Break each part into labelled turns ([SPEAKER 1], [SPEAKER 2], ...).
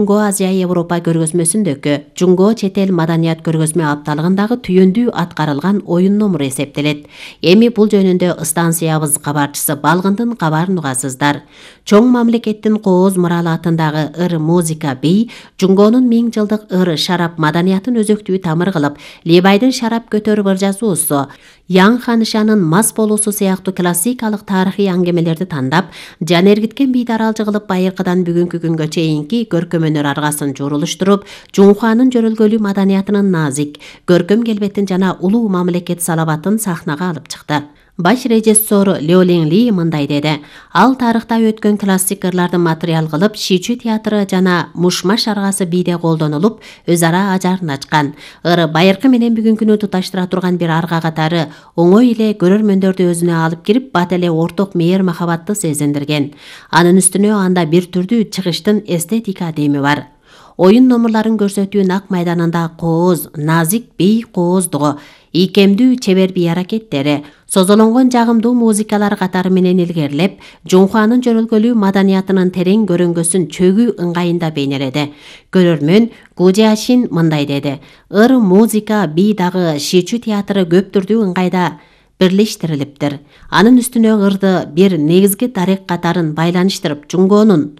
[SPEAKER 1] Жунго Азия Европа көргөзмөсүндөгү Жунго чет эл маданият көргөзмө апталыгындагы түйүндүү аткарылган оюн номуру эсептелет. Эми бул жөнүндө станциябыз кабарчысы Балгындын кабарын угасыздар. Чоң мамлекеттин кооз муралы атындагы ыр музыка бий Жунгонун 1000 жылдык ыр шарап маданиятын өзөктүү тамыр кылып, Либайдын шарап көтөрүп ыр жазуусу, Яң ханышанын мас болуусу сыяктуу классикалык тарыхый аңгемелерди тандап, жан эргиткен бийдаралжы кылып байыркыдан бүгүнкү күнгө чейинки көркөмөнөр аргасын журулуштуруп, Жунхуанын жөрөлгөлүү маданиятынын назик, көркөм келбетин жана улуу мамлекет салабатын сахнага алып чыкты. Баш режиссер Лё Лин Ли мындай деди: ал тарыхта өткөн классик ырларды материал кылып, Шичү театры жана Мушмаш аргасы бийде колдонулуп, өз ара ажарын ачкан. Ыр байыркы менен бүгүнкүнү туташтыра турган бир арга катары оңой эле көрөрмөндөрдү өзүнө алып кирип, бат эле орток мээр махабатты сезиндирген. Анын үстүнө анда бир түрдүү чыгыштын эстетика деми бар. Оюн номурларын көрсөтүү нак майданында кооз, назик бей кооздугу, ийкемдүү чебер бий аракеттери, созолонгон жагымдуу музыкалар катары менен илгерилеп, Жунхуанын жөрөлгөлүү маданиятынын терең көрөңгөсүн чөгүү ыңгайында бейнеледи. Көрөрмөн Гу Жиашин мындай деди: ыр музыка бий дагы Шичү театры көп түрдүү ыңгайда бирлештирилиптир. Анын үстүнө ырды бир негизги дарек катарын байланыштырып, Жунгонун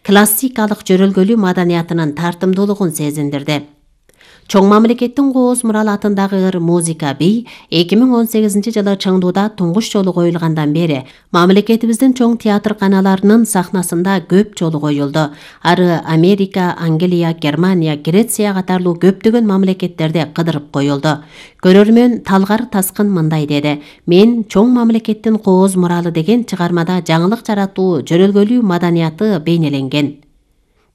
[SPEAKER 1] классикалык жөрөлгөлүү маданиятынын тартымдуулугун сезиндирди. Чоң мамлекеттин кооз муралы атындагы ыр музыка бий 2018 жылы Чыңдууда туңгуш жолу коюлгандан бери мамлекетибиздин чоң театр каналарынын сахнасында көп жолу коюлду. Ары Америка, Англия, Германия, Греция катарлуу көптөгөн мамлекеттерде кыдырып коюлду. Көрөрмөн Талгар Таскын мындай деди: мен чоң мамлекеттин кооз муралы деген чыгармада жаңылык жаратуу, жөрөлгөлүү маданияты бейнеленген.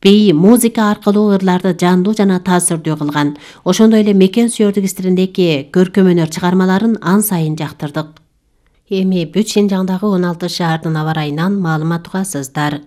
[SPEAKER 1] Бей музыка аркылуу ырларды жандуу жана таасирдүү кылган. Ошондой эле мекен сүйөрдүк стилиндеги көркөмөнөр чыгармаларын ан сайын жактырдык. Эми бүт Шинжаңдагы 16 шаардын аба ырайынан маалымат угасыздар.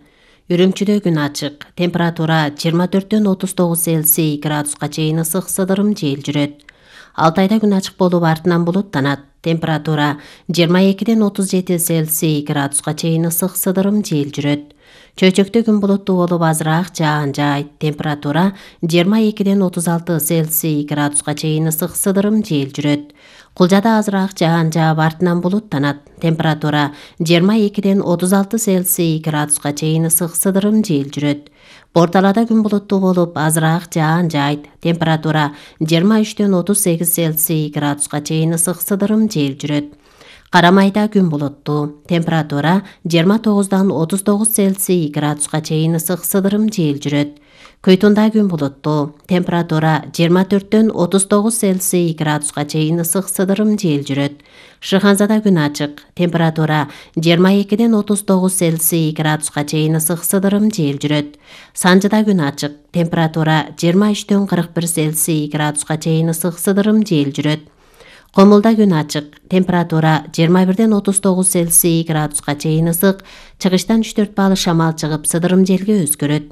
[SPEAKER 1] Үрүмчүдө күн ачык, температура 24-төн 39 Цельсий градуска чейин ысык сыдырым жел жүрөт. Алтайда күн ачык болуп артынан булуттанат. Температура 22-ден 37 Цельсий градуска чейин ысык сыдырым жел жүрөт. Чөйчөктө күн булуттуу болуп азыраак жаан жаайт. Температура 22-ден 36 Цельсий градуска чейин ысык сыдырым жел жүрөт. Кулжада азыраак жаан жаап артынан булуттанат. Температура 22-ден 36 Цельсий градуска чейин ысык сыдырым жел жүрөт. Борталада күн булуттуу болуп азыраак жаан жаайт. Температура 23-ден 38 Цельсий градуска чейин ысык сыдырым жел жүрөт. Карамайда күн булуттуу. Температура 29-дан 39 Цельсий градуска чейин ысык сыдырым жел жүрөт. Көйтүндө күн булуттуу. Температура 24-төн 39 Цельсий градуска чейин ысык сыдырым жел жүрөт. Шыханзада күн ачык. Температура 22-ден 39 Цельсий градуска чейин ысык сыдырым жел жүрөт. Санжыда күн ачык. Температура 23-төн 41 Цельсий градуска чейин ысык сыдырым жел жүрөт. Комулда күн ачык. Температура 21-ден 39 Цельсий градуска чейин ысык, чыгыштан 3-4 балы шамал чыгып, сыдырым желге өзгөрөт.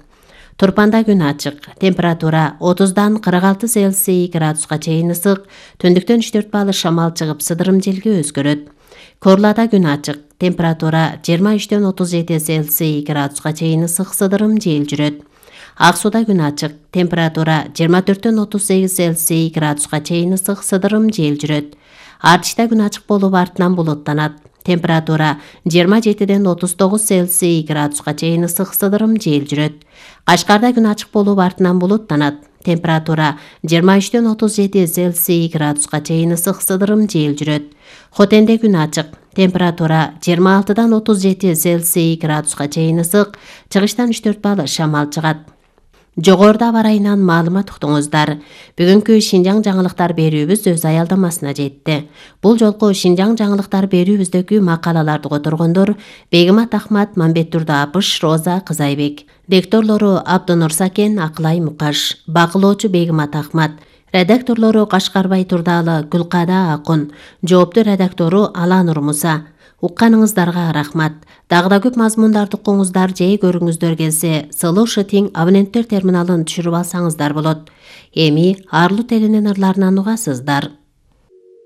[SPEAKER 1] Турпанда күн ачык. Температура 30-дан 46 Цельсий градуска чейин ысык, түндүктөн 3-4 балы шамал чыгып, сыдырым желге өзгөрөт. Корлада күн ачык. Температура 23-ден 37 Цельсий градуска чейин ысык, сыдырым жел жүрөт. Аксуда күн ачык. Температура 24-төн 38 Цельсий градуска чейин ысык, сыдырым жел жүрөт. Артишта күн ачык болуп артынан булуттанат. Температура 27-ден 39 Цельсий градуска чейин ысык, сыдырым жел жүрөт. Кашкарда күн ачык болуп артынан булуттанат. Температура 23-ден 37 Цельсий градуска чейин ысык, сыдырым жел жүрөт. Хотенде күн ачык. Температура 26-дан 37 Цельсий градуска чейин ысык, чыгыштан 3-4 балы шамал чыгат. Жогоруда аба ырайынан маалымат уктуңуздар. Бүгүнкү Шинжаң жаңылыктар берүүбүз өз аялдамасына жетти. Бул жолку Шинжаң жаңылыктар берүүбүздөгү макалаларды которгондор Бегимат Ахмат, Мамбет Турдапыш, Роза Кызайбек. Лекторлору Абдынур Сакен, Акылай Мукаш. Бакылоочу Бегимат Ахмат. Редакторлору Кашкарбай Турдалы, Гүлкада Акун. Жоопту редактору Аланур Муса. Укканыңыздарга рахмат. Дагы да көп мазмундарды укуңуздар же көрүңүздөр келсе, Сылуу Шытиң абоненттер терминалын түшүрүп алсаңыздар болот. Эми арлуу телинин ырларынан угасыздар.